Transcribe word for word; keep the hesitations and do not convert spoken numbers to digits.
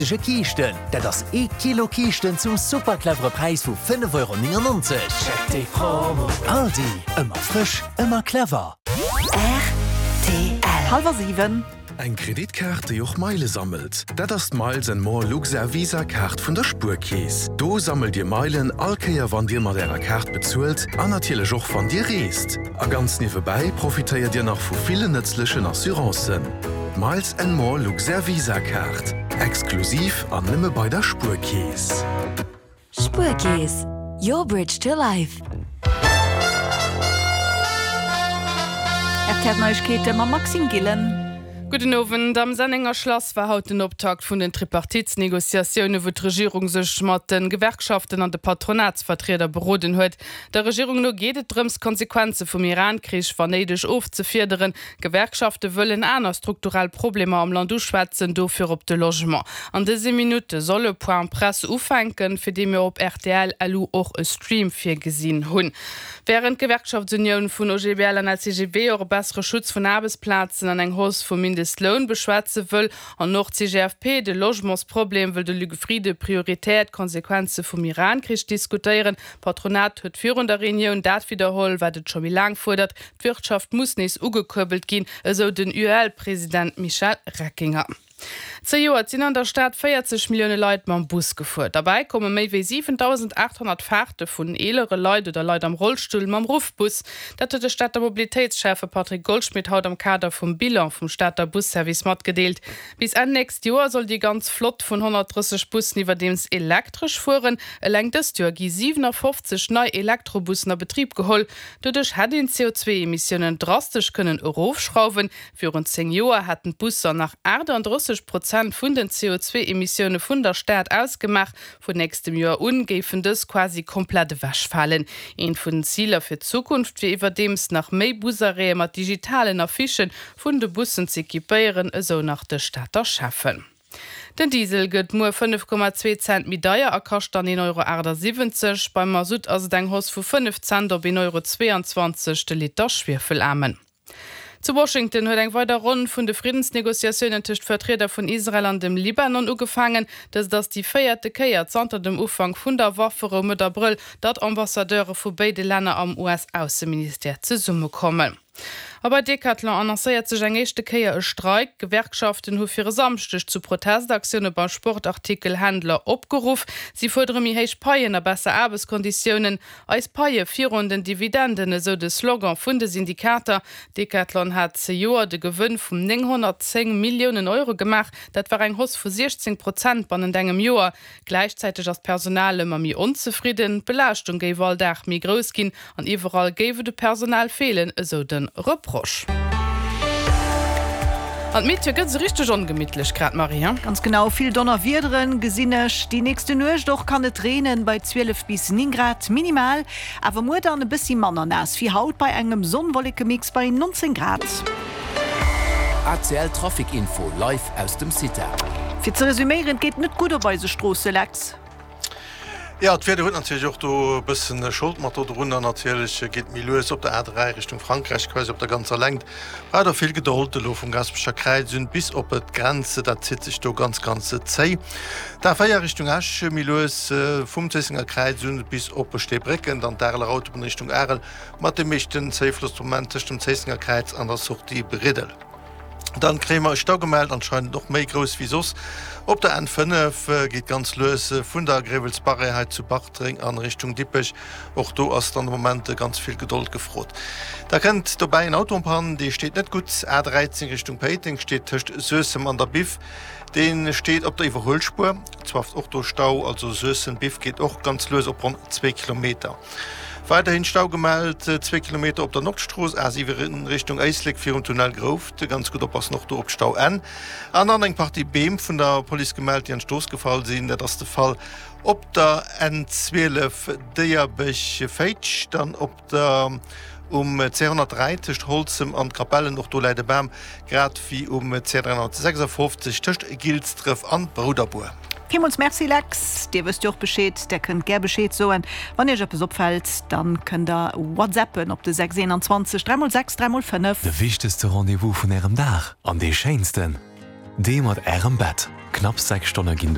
Ge Kiischten, dat ass ee Kilo Kiischten zum super clevere Präis vu fënnef Euro néngennonzeg. Check déi Promo! Aldi, ëmmer frësch, ëmmer clever. Rtl. Hallwer siwen. Eng Kreditkaart, déi och Meile sammelt? Dat ass d'Miles and More Luxair Visa Kaart vun der Spuerkeess. Do sammelt Dir Meilen all Kéier wann Dir mat Ärer Kaart bezuelt an natierlech och wann Dir reest. A ganz niewebäi profitéiert Dir nach vu villen nëtzlechen Assurancen. D'Miles and More Luxair Visa Kaart. Exklusiv an nëmme bei der Spuerkeess. Spuerkeess, your bridge to life. R T L Neiegkeete mam Maxime Gillen. Gudden Owend. Am Sennenger Schlass war haut den Optakt vun den Tripartitsnegociatioune wou d'Regierung sech mat de Gewerkschaften an de Patronatsvertrieder beroden huet. Der Regierung no geet et drëms d'Konsequenze vum Iran-Krich wann néideg ofzefiederen. D'Gewerkschafte wëllen aner strukturell Problemer am Land uschwätzen, do virop de Logement. An dëse Minutte soll e Point Presse ufänken, fir dee mir op rtl lu och e Stream virgesinn hunn. Wärend d'Gewerkschaftsunioun vun O G B L an L C G B och e bessere Schutz vun Aarbechtsplazen an eng Hausse vum Mindestloun beschwätze wëll an och d'C G F P de Logementsproblem wëll de Luc Frieden prioritär d'Konsequenze vum Iran-Krich diskutéieren. D'Patronat huet virun der Reunioun dat widderholl, wat et scho méi laang fuerdert, D'Wirtschaft muss nees ugekuerbelt ginn, esou den U E L-President Michel Reckinger. Zejoert sinn an der Stad véierzeg Millioune Leit mam Bus gefuer. Derbäi komme méi wéi siwentausendaachthonnert Faarte vun eelere Leit oder Leit am Rollstull mam Ruffbus. Dat huet de Stater Mobilitéitsschäffe Patrick Goldschmidt haut am Kader vum Bilan vum Stater Busservice matgedeelt. Bis Enn nächst Joer soll déi ganz Flott vun honnertdrësseg Bussen iwwerdeems elektresch fueren. Eleng dëst Joer gi siwenafofzeg nei Elektrobussen a Betrib geholl. Doduerch hätt een d'C O zwee Emissiounen drastesch kënnen erofschrauwen. Virun zéng Joer hätten d'Busser nach aachtanddrësseg Prozent vun den C O zwee Emissioune vun der Stad ausgemaach. Vun nächstem Joer un géifen dës quasi komplett ewechfalen. Eent vun den Ziler fir d'Zukunft wier iwwerdeems nach méi Busarrêtë mat digitalen Affichë vun de Bussen z'equipéieren, esou nach de Stater Schäffen. Den Diesel gëtt muer fënnef Komma zwee Cent méi deier a kascht dann een Euro aachtsiwwenzeg. Beim Masutt ass et eng Hausse vu fënnef Cent op een Euro zweeanzwanzeg de Liter Schwiefelaarmen. Zu Washington huet eng weider Ronn vun de Friddensnegociatiounen tëscht Vertrieder vun Israel an dem Libanon ugefaangen. Dëst ass déi véierte Kéier zanter dem Ufank vun der Wafferou Mëtt Abrëll, datt Ambassadeure vu béide Länner am U S-Ausseministère zesummekommen. A bei Decathlon annoncéiert sech eng éischte Kéier e Streik. D'Gewerkschaften hu fir e Samschdeg zu Protestaktioune beim Sportartikelhändler opgeruff. Si fuerdere méi héich Paien a besser Aarbechtskonditiounen. Eis Paie virun den Dividenden, esou de Slogan vun de Syndikater. Decathlon hat zejoert e Gewënn vun nénghonnertzéng Milliounen Euro gemaach. Dat war eng Hausse vu siechzéng Prozent bannent engem Joer. Gläichzäiteg ass d'Personal ëmmer méi onzefridden. D'Belaaschtung géif all Dag méi grouss ginn an iwwerall géif et u Personal feelen, esou de Reproche. An d'Meteo gëtt esou richteg ongemittlech grad, Marie, hein? Ganz genau, vill Donnerwiederen gesinn ech. Déi nächste Nuecht och kann et reenen, bei zwielef bis néng Grad minimal. Awer muer dann e bëssi manner naass wéi haut, bei engem Sonn-Wolleke-Mix bei nonzéng Grad. R T L Trafic Info live aus dem Cita. Fir ze resuméieren, et geet net gutt op eise Stroosse, Lex. Jo, d'Wieder huet natierlech och do e bëssen Schold mat do drun. An natierlech geet méi lues op der A dräi Richtung Frankräich, quasi op der ganzer Längt. Braucht der vill Gedold elo vum Gaasperecher Kräiz un bis op d'Grenz, dat zitt sech do ganz ganz zéi. D'A véier Richtung Esch méi lues vum Zéissenger Kräiz un bis op Steebrécken, dann d'Areler Autobunn Richtung Arel mat dem meeschten Zéifloss de Moment tëscht dem Zéissenger Kräiz an der Sortie Briddel. Dann kréie mer e Stau gemellt, anscheinend och méi grouss wéi soss. Op der N fënnef geet ganz lues vun der Gréiwelsbarrière hei zu Bartreng an Richtung Dippech. Och do ass dann de Moment ganz vill Gedold gefrot. Da kënnt dobäi en Auto en panne, dee steet net gutt. A dräizéng Richtung Péiteng steet tëscht Suessem an der Biff. Dee steet op der Iwwerhuelspuer. Zwar och do Stau, also Suessem-Biff geet och ganz lues op ronn zwee Kilometer. Weiderhin Stau gemellt, zwee Kilometer op der Nordstrooss, A siwen Richtung Éislek virum Tunnel Grouft. Ganz gutt oppassen och do op d'Stauenn. An dann eng Partie Beem vun der Police gemellt, déi an d'Strooss gefall sinn. Dat ass de Fall op der N zwielef Déierbech-Féitsch, dann op der um C honnertdräi tëscht Holzem an Capellen, och do läit e Bam, grad wéi um C dräihonnertsechsafofzeg tëscht Gilsdref an Brouderbuer. Villmools Merci Lex, Dir wësst jo och Bescheed, der kënnt gär Bescheed soen, wann Iech eppes opfält, dann kënnt der WhatsAppen op de sechs eenanzwanzeg dräi mol sechs dräi mol fënnef. De wichtegste Rendez-vous vun ärem Dag an dee schéinsten, dee mat ärem Bett. Knapp sechs Stonne ginn